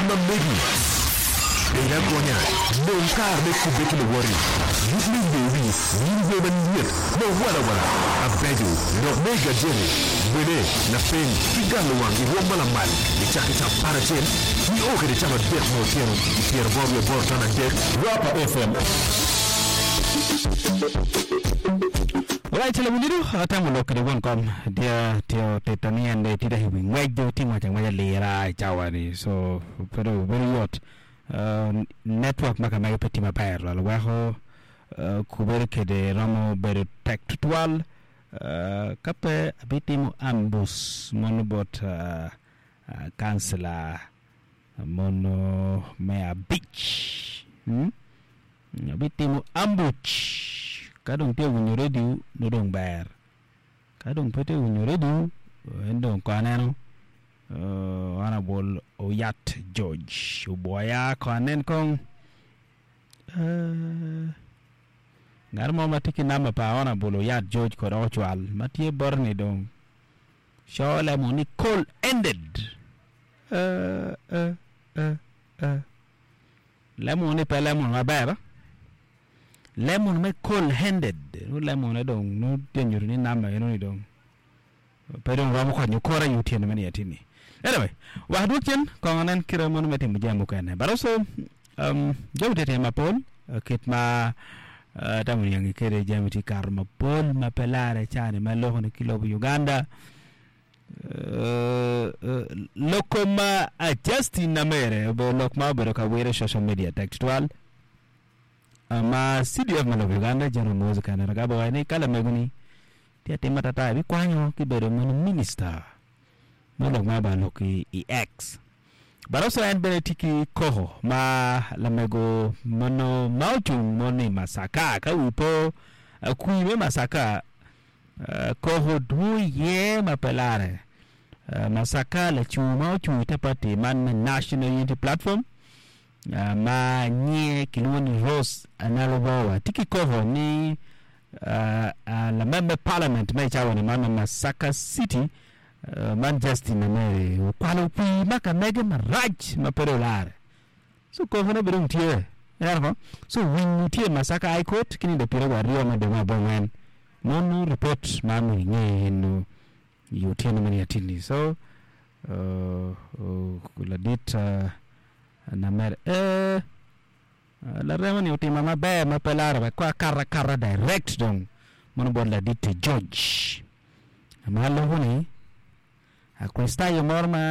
ma megi. Bed agonya, nong kare me kubbe ki luwoti, yub me yweyo wi, winy wer malyet ma walawala, abeco, lok me i gajeti, wele, lapeny, ki galo wang i rwom ma lamal nicakke ca aparacel nio kwede camadek me otyeno i pyeraboro wiye aboro 53 Rapa FM. Alright, lawinyido atemo lok kede won kom dia tye otita ni en dong tye i wi ngwec dong tye ngwec angweca lira i cawa ni so pe dong bedo yot network ma kamege pe tye maber twal weko kubedo kede romo bedo tek tutwal ka pe abitimo ambus mono bot kancila mono me abic abitimo ambuc ka dong tye winyo redio nongo dong ber ka dong pe tye winyo redio en dong kong aneno Honourable Oyat George obwoya kong anen kong ngat mo ma tye ki namba pa Honourable Oyat George kong dok ocwal ma tye bote ni dong co lemo ni call ended Lemon ni pe lemon maber, lemon me cold handed nongo lemone dong nongo tye nyuto ni namba eno ni dong pe dong romo konyo kore i otyeno me niye tini. Anyway, wek adwog cen kong anen kite mono me timo jami mukene but also um, jami tye tye mapol kit ma uh, atamo niangi kede jami tye kato mapol ma pe lare cani ma loko ni ki lobo Uganda. Lok kom ma Justin Namere obedo lok ma obedo ka wire i social media tek tutwal ma CDF ma lobo Uganda General Muhoozi Kainerugaba owaco ni ka lamego ni tye atim atata ebikwanyo ki bedo mono minista me lok ma obedo lok i X but also en bene tye ki koko ma lamego mono ma ocung mono i Masaka ka wi po kwir me Masaka Koko dwong iye ma pe larre. Masaka lacung ma ocung i te pati man me National Unity Platform ma nyinge kilwongo ni Rose Nalubowa tye ki koko ni lamem me palament me i cawa-ni man me Masaka City man Justin Namere okwalo pii ma ka mege marac ma pe dong olare. So kokone bene dong tye. Ineno ko? So winyo tye i Masaka High Court ki nindo pyeraryo aryo me dwe me abongwen. Mono report ma myero inge eno i otyeno meno i atinni. So uh, uh, ladit uh, Namere eh, larema ni otima maber ma pe laro wek ko akato akata direct dong mono bot ladit George. Ma loko ni Akricitayo moro ma.